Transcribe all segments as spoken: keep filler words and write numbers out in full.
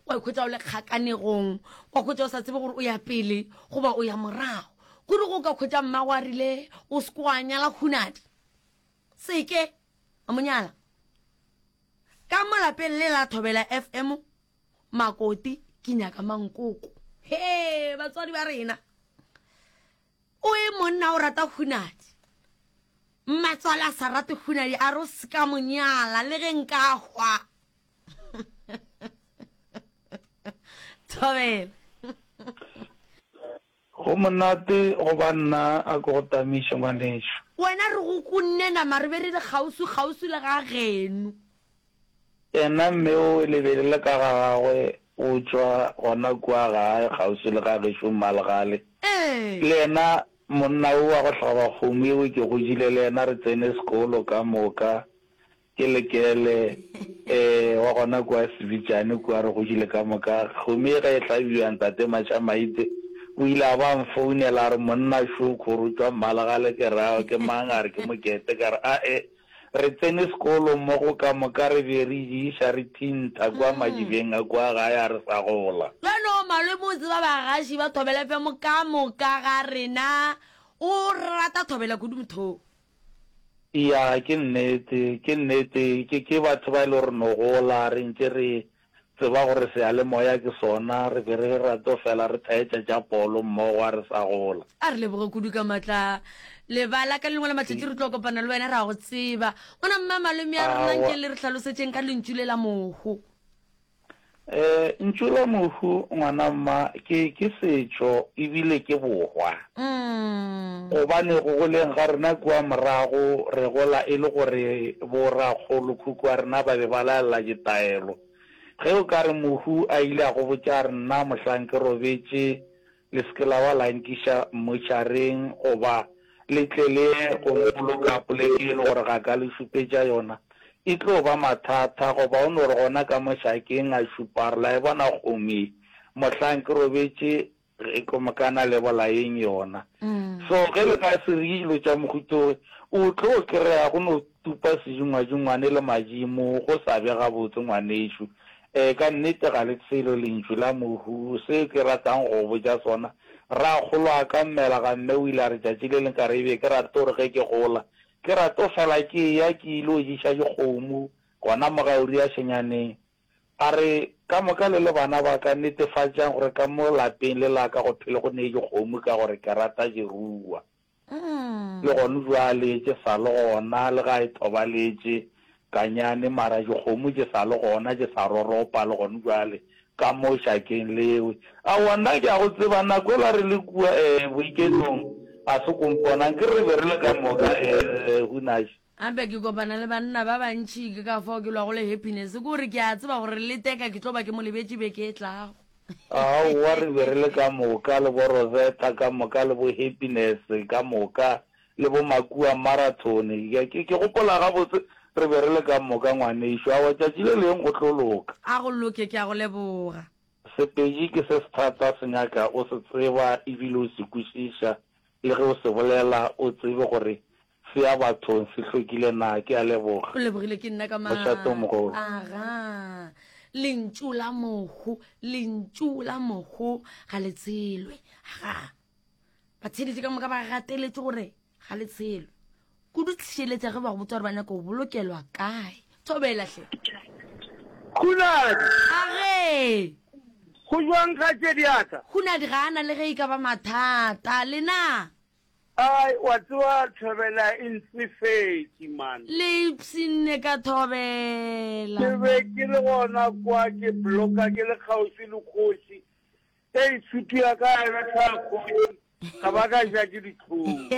Wa ikhwetša o le kgakanegong, wa hwetša o sa tsebe gore o ya pele goba o ya morago. Kudu go ka hwetša mmago a rile o se ke wa nyala Hunadi. Se ke a mo nyala. Ka mo lapeng le la Thobela F M, Makoti ke nyaka mankoko. He, batswadi ba rena. O e monna o rata Hunadi. Mmatswale a sa rate Hunadi, a re o se ka mo nyala le ge nka hwa. Thobela. Go monate go ba nna a ke go tamiše ngwanešu. Wena re go kunne nama re be re le kgauswi kgauswi le ga geno. Yena mme o le be le le ka ga gagwe o tšwa gona kua gae kgauswi le ga gešo Mmalegale. Ee. Le yena monna o wa go hlaba kgomo eo ke godile le yena re tsene sekolo ka moka. Ke Lekele, ee, wa gona kua Sebitšane kua re godile ka moka. Kgomo ye ge e hlabiwa Ntate Matšhamaite o ile a ba a mfounela a re monna šo kgoro tšwa Mmalegale ke re ao ke mang a re ke Mokete ka re ae re tsene sekolo mmogo ka moka re be re diša re thintha kua madibeng a kua gae a re sa gola. Bjalo malome o tseba bagaši ba Thobela F M ka moka ga rena o rata Thobela kudu motho. Ya, ke nnete, ke nnete. Ke, ke batho ba e le gore no gola re ntše re tseba gore seyalemoya ke sona, re be re rato fela re thaetša tša polo mmogo a re sa gola. A re leboge kudu ka matla. Lebala, ka lengwe la matšatši re tlo kopana le wena ra go tseba. Gona mma malome a rena nke Aowa. Le re hlalosetšeng ka lentšu le la mohu. Eh, ntšu la mohu ngwana mma ke, ke setšo ebile ke bohwa. Mm. Gobane go goleng ga rena kua morago re gola e le gore bo rakgolokhukhu wa rena ba be ba laela ditaelo. Ge o ka re mohu a ile a go botša a re nna mohlang ke robetše le se ke la ba la nkiša mmotšhareng goba le tle le ye go mpoloka poleke e le gore ga ka le šupetša yona, e tlo ba mathata. Goba o no re gona ka mo šakeng a šupa a re la e bona kgomo ye, mohlang ke robetše ge ko mokana le bolayeng yona. So ge le ka se re dilo tša mohuta wo, o tlo kry-a go no tupa sedingwadingwane le madimo go sa be gabotse ngwanešu. Ee, ka nnete ga le selo lentšu la mohu. Se ke ratang go go botša sona, rakgolo'a-ka mmela ga mme o ile a re tšatši le leng ka re ebe ke rate gore ge ke gola ke rato fela ke eya ke ile jiša dikgomo gona mo ga Uria Šenyaneng. A re, Ka moka le le bana ba ka, netefatšang gore ka mo lapeng le la ka go phele go ne dikgomo ka gore ke rata diruwa. Le gona bjale tše sa le gona, le ga e thobaletše kanyane, mara dikgomo tše sa le gona, tše sa roropa le gona bjale ka mo šakeng lewe. Aowa, nna ke a go tseba, nako ela re le kua eh, boiketlong, ga se ko mpona, nkere re be re le ka moka eh, Hunash. Gape ke kopana le banna ba bantši, ke ka fao ke lwago le Happiness, ke gore ke a tseba gore le Teka ke tlo ba ke mo lebetše beke e tlago. Aowa, re be re le ka moka, le bo Rosetta ka moka, le bo Happiness ka moka, le bo Makua Marathon. Ke, ke, ke gopola gabotse, re be re le ka moka, ngwanešu. Aowa, tšatši le leng go tlo loka. A go loke, ke a go leboga. Sepedi ke se sethata, se nyaka o se tseba ebile o se kwešiša, le ge o se bolela o tsebe gore se ya bathong se hlwekile na. Ke a leboga. O lebogile ke nna ka Mošate o mogolo. Aga. Lentšu la mohu, lentšu la mohu ga le tshelwe. Aga. Batheeletši ka moka ba gateletše gore ga le tshelwe. Kudu tšheletša ge ba go botsa gore ba nyaka go bolokelwa kae. Thobela hle. Hunadi. Age. Go jwang kgaetšedi ya ka? Hunadi ga a na le ge e ka ba mathata. Lena? Ai, wa tseba Thobela e ntsefetše man. Le ipshinne ka Thobela. Ke be ke le gona kwa ke bloka ke le kgauswi le kgoši. Ei, sutu ya ka e betha kgoši, ka ba ka ja ke dihlong.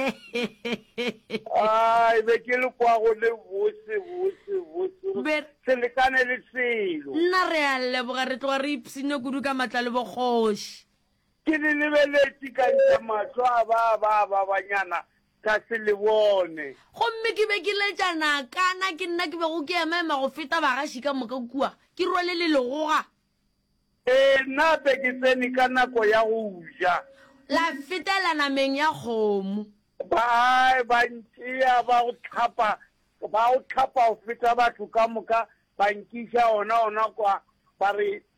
Ai, be ke le kwa go le bose, bose, bose, Be- se lekane le selo. Nna re a leboga, re tloga re ipshinne kudu ka matla le bokgoši. Ke le lebeletše ka ntšha mahlo a ba ba ba banyana ka se le bone. Gomme ke be ke letša nakana, ke nna ke bego ke emaema go feta bagaši ka moka kua, ke rwele le legoga. Ee, nna be ke tsene ka nako ya go ja. La fetela nameng ya kgomo. Ba ba ntšea ba go hlapa, ba go hlapa go feta batho ka moka, ba nkiša ona ona kwa, ba re